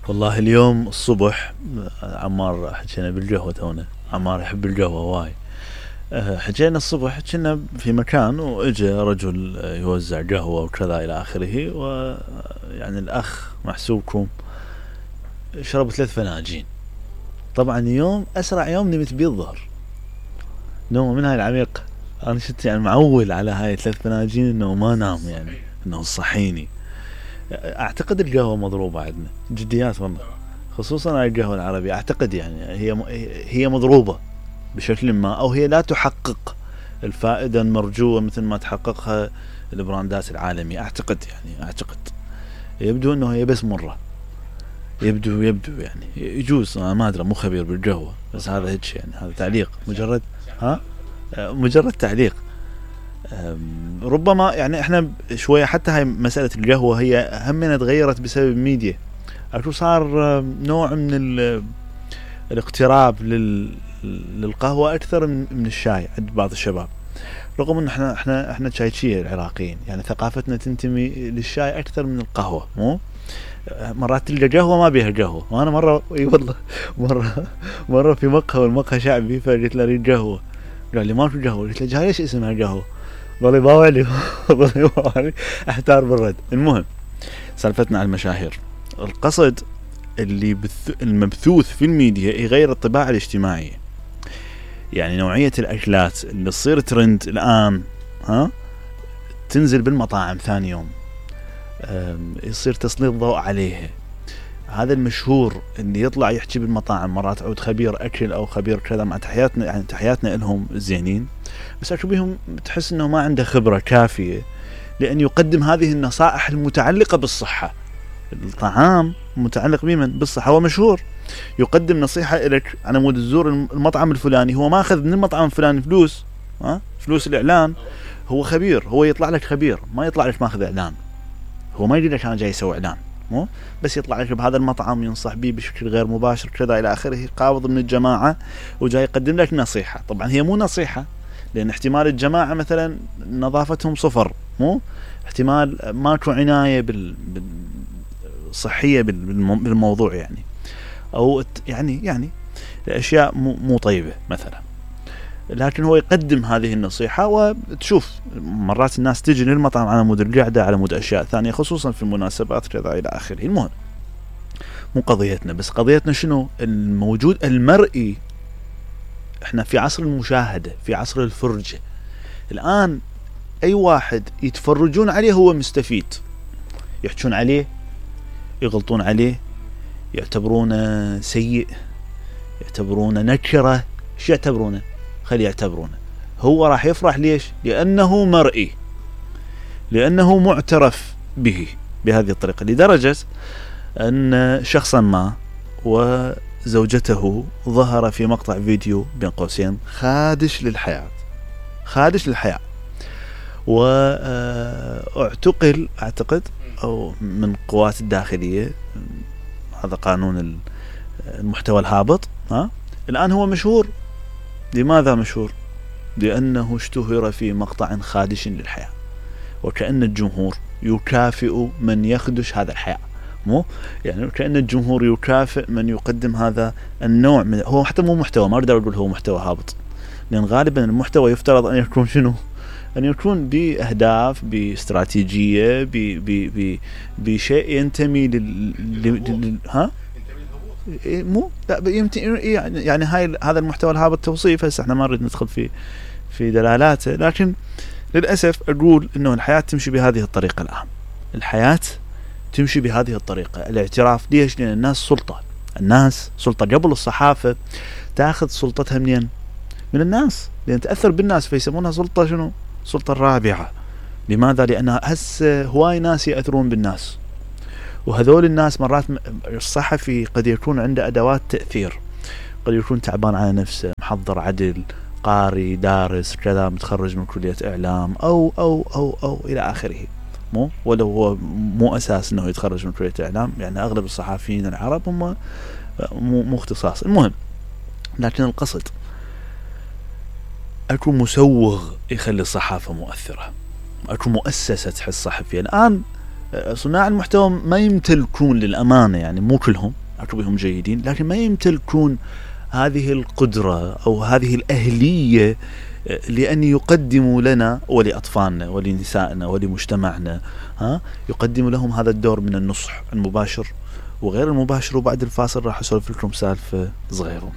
والله اليوم الصبح عمار حكينا بالقهوة تونا. عمار يحب القهوة واي. حكينا الصبح كنا في مكان واجى رجل يوزع قهوة وكذا الى اخره، ويعني الاخ محسوبكم شرب 3 فناجين. طبعا يوم اسرع يوم نمت بيه الظهر، نوم من هاي العميق. انا شفت يعني معول على هاي 3 فناجين انه ما نام، يعني انه صحيني. اعتقد القهوة مضروبة عندنا جديات والله، خصوصا على القهوة العربية. اعتقد يعني هي مضروبة بشكل ما، او هي لا تحقق الفائدة المرجوة مثل ما تحققها البراندات العالمية. اعتقد يبدو انه هي بس مرة. يبدو يعني يجوز، انا ما ادري، مو خبير بالقهوة، بس هذا هيك يعني، هذا تعليق مجرد تعليق. ربما يعني احنا شوية حتى هاي مسألة القهوة هي همنا تغيرت بسبب الميديا. اكو صار نوع من الاقتراب للقهوة اكثر من الشاي عند بعض الشباب، رغم ان احنا شايشية العراقيين، يعني ثقافتنا تنتمي للشاي اكثر من القهوة. مو مرات تلقى قهوة ما بيها قهوة. وانا مرة اي والله مرة في مقهى، والمقهى شعبي، فقلت له اريد قهوة، قال لي ما في قهوة. قلت له جاي ليش اسمها قهوة؟ ظل يباوع لي احتار بالرد. المهم سالفتنا على المشاهير. القصد اللي المبثوث في الميديا يغير الطباع الاجتماعية. يعني نوعية الأكلات اللي تصير ترند الآن تنزل بالمطاعم ثاني يوم، يصير تسليط ضوء عليها. هذا المشهور اللي يطلع يحكي بالمطاعم، مرات عود خبير أكل أو خبير كذا، مع تحياتنا يعني تحياتنا لهم زينين، بس أشوف بهم تحس أنه ما عنده خبرة كافية لأن يقدم هذه النصائح المتعلقة بالصحة. الطعام متعلق بمن؟ بالصحة. هو مشهور يقدم نصيحة لك على مود تزور المطعم الفلاني، هو ما أخذ من المطعم الفلاني فلوس الإعلان. هو خبير، هو يطلع لك خبير، ما يطلع لك ماخذ إعلان. هو ما يقول لك أنا جاي يسوي إعلان، مو بس يطلع لك بهذا المطعم ينصح به بشكل غير مباشر كذا إلى آخره، قابض من الجماعة وجاي يقدم لك نصيحة. طبعا هي مو نصيحة، لأن احتمال الجماعة مثلا نظافتهم صفر، مو احتمال ماكو عناية صحية بالموضوع، يعني أو يعني الأشياء مو طيبة مثلا. لكن هو يقدم هذه النصيحة، وتشوف مرات الناس تجي للمطعم على مود القعدة، على مود أشياء ثانية، خصوصا في المناسبات كذا إلى آخره. المهم مو قضيتنا، بس قضيتنا شنو الموجود المرئي. احنا في عصر المشاهدة، في عصر الفرجة. الآن أي واحد يتفرجون عليه هو مستفيد، يحجون عليه، يغلطون عليه، يعتبرونه سيء، يعتبرونه نكرة. شو يعتبرونه؟ خلي يعتبرونه. هو راح يفرح ليش؟ لأنه مرئي، لأنه معترف به بهذه الطريقة. لدرجة أن شخصا ما وزوجته ظهر في مقطع فيديو بين قوسين خادش للحياة، واعتقل أعتقد أو من قوات الداخلية. هذا قانون المحتوى الهابط. الآن هو مشهور. لماذا مشهور؟ لأنه اشتهر في مقطع خادش للحياة، وكأن الجمهور يكافئ من يخدش هذا الحياة. مو يعني كأن الجمهور يكافئ من يقدم هذا النوع من، هو حتى مو محتوى، ما أقدر أقول هو محتوى هابط، لأن غالبا المحتوى يفترض أن يكون شنو؟ أن يكون بأهداف، باستراتيجية، بشيء ينتمي مو لا يعني هذا المحتوى الهابط توصيف. هسه احنا ما نريد ندخل في دلالاته، لكن للأسف أقول إنه الحياة تمشي بهذه الطريقة. الآن الحياة تمشي بهذه الطريقة. الاعتراف ليش؟ لأن الناس سلطة. قبل الصحافة تأخذ سلطتها منين؟ من الناس، لأن تأثر بالناس، فيسمونها سلطة شنو؟ سلطة الرابعة. لماذا؟ لأن هسه هواي ناس يأثرون بالناس، وهذول الناس مرات الصحفي قد يكون عنده أدوات تأثير، قد يكون تعبان على نفسه، محضر عدل، قاري، دارس كذا، متخرج من كلية إعلام أو أو أو أو إلى آخره. مو ولو هو مو أساس أنه يتخرج من كلية إعلام، يعني أغلب الصحفيين العرب هم مو اختصاص. المهم، لكن القصد أكو مسوغ يخلي الصحافة مؤثرة، أكو مؤسسة تحس صحفية. الآن صناع المحتوى ما يمتلكون للأمانة، يعني مو كلهم اكو بهم جيدين، لكن ما يمتلكون هذه القدرة أو هذه الأهلية لأن يقدموا لنا ولأطفالنا ولنسائنا ولمجتمعنا يقدموا لهم هذا الدور من النصح المباشر وغير المباشر. وبعد الفاصل راح أسولف لكم سالفة صغيرة.